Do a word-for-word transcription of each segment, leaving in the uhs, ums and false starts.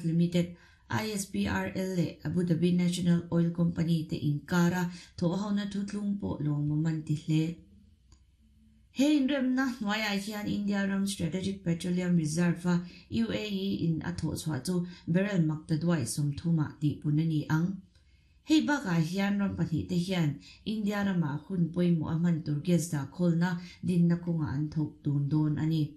Limited, I S P R L leh Abu Dhabi National Oil Company te inkara thawhhona thuthlung pawh lawmawm an ti hle. He inremna hnuaiah hian India ram Strategic Petroleum Reserve a U A E in a thawh chhuah chu barrel maktaduai sawmthumah tihpun a ni ang. Hei bakah hian ram pahnih te hian India ramah hun pawimawh a hman tur gas dah khawlna dinna kawngah an thawk tun dawn a ni.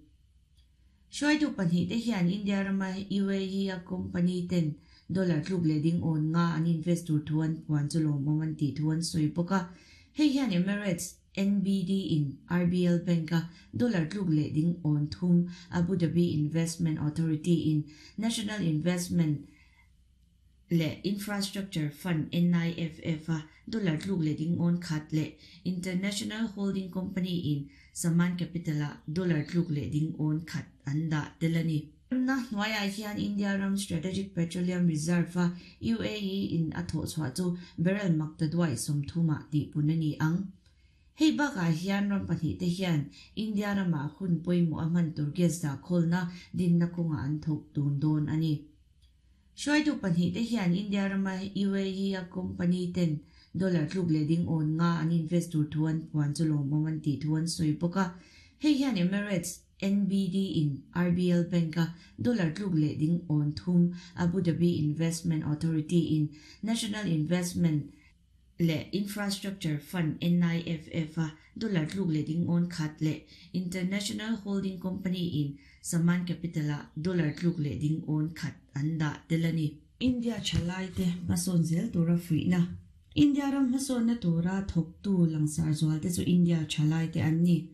Hruaitu pahnih te hian India rama U A E a company ten dollar tluk leh ding awn nga an invest tur thu an puan chu lawmawm an tih thu an sawi bawk a. Hei hian Emirates N B D in R B L Bank a dollar tluk leh ding awn thum Abu Dhabi Investment Authority in National Investment leh Infrastructure Fund N I F F a dollar tluk leh ding awn khat leh International Holding Company in Saman Capital a dollar tluk leh ding awn khat an dah tel a ni. Na hnuaiah hian India ram Strategic Petroleum Reserve a U A E in a thawh chhuah chu barrel maktaduai sawmthumah tihpun a ni ang. Hei bakah hian ram pahnih te hian India ramah hun pawimawh a hman tur gas dah khawlna dinna kawngah an thawk tun dawn a ni. Hruaitu pahnih te hian India rama U A E a company ten dollar tluk leh ding awn nga an invest tur thu an puan chu lawmawm an tih thu an sawi bawk a. Hei hian Emirates N B D in R B L Bank a dollar tluk leh ding awn thum Abu Dhabi Investment Authority in National Investment leh Infrastructure Fund N I F F a dollar tluk leh ding awn khat leh International Holding Company in Saman Capital a dollar tluk leh ding awn khat an dah tel a ni. India thalai te hmasawn zel tura fuihna. India ram hmasawnna tura thawktu langsar zual te chu India thalai te an ni.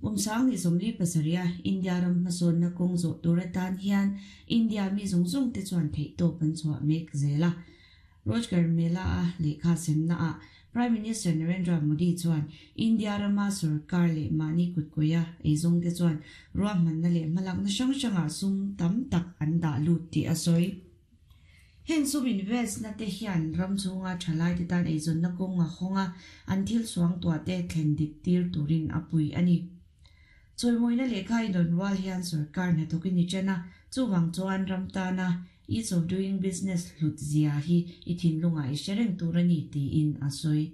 Kumsang ni sawmli pasaria India ram hmasawnna kawng zawh tura tan hian India mi zawng zawng te chuan theih tawp an chhuah mek zel a. Rojgar Mela a lehkha semna a Prime Minister Narendra Modi chuan India rama sarkar leh mahni kutkuia eizawng te chuan ruahmanna leh hmalakna hrang hrangah sum tam tak an dah lut tih a sawi. Heng sum invest na te hian ram chhunga thalai te tan eizawnna kawnga hawnga an thil suang tuah te thlen dik tir turin a pui a ni. Chawimawina lehkha inrawn rual hian sarkar hnathawkin ni chen a, chuwang chuan ram tana ease of doing business hlut zia hi i thinlunga i hre tur a ni tiin a sawi.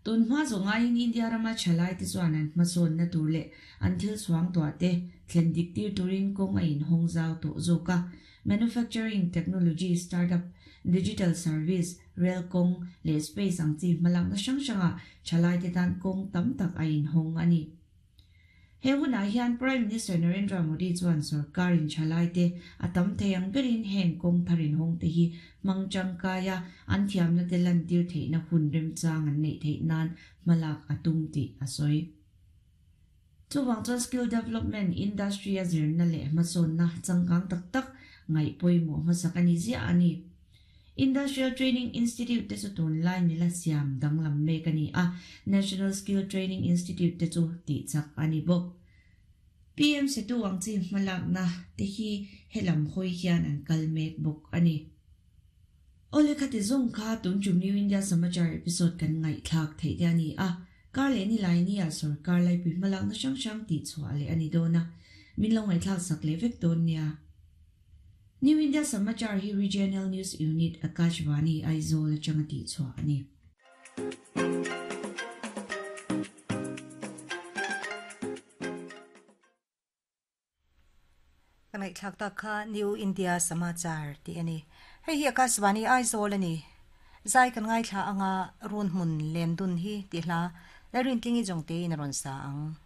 Tun hma zawnga in India rama thalai te chuan an hmasawnna tur leh an thil suang tuah te thlen dik tir turin kawng a inhawng zau tawh zawk a. Manufacturing, technology, startup, digital service, rail kawng leh space ang chi hmalakna hrang hranga thalai te tan kawng tam tak a inhawng a ni. He hunah hian Prime Minister Narendra Modi chuan sarkar in thalai te a tam thei ang berin heng kawng tharin hawng te hi mangchang kaya an thiamna te lan tir theihna hun remchang an neih theih nan hmalak a tum tih a sawi. Chuwang chuan skill development industry a zirna leh hmasawnna changkang tak tak ngaih pawimawh hmasak a ni ziah a ni. Industrial Training Institute te chu tunlai mila siam danglam mek a ni a, National Skill Training Institute te chu tih chak a ni bawk. P M Setu ang chi hmalakna te hi helam hawi hian an kal mek bawk a ni. Ole khati zawng kha tun tum New India Samachar episode kan ngaihthlak theih te a ni a, kar leh ni lai ni a sarkar lai pui hmalakna hrang hrang tih chhuah leh a ni dawn a, min lo ngaihthlak sak leh vek dawn nia. New India Samachar hi Regional News Unit Akashvani Aizawl atanga tih chhuah a ni. Kanai thlak ta kha New India Samachar ti ani. Hei hi Akashvani Aizawl ani. Zai kan ngai thla anga run hmun len dun hi ti hla. Larin tlingi jong te in ron sa ang.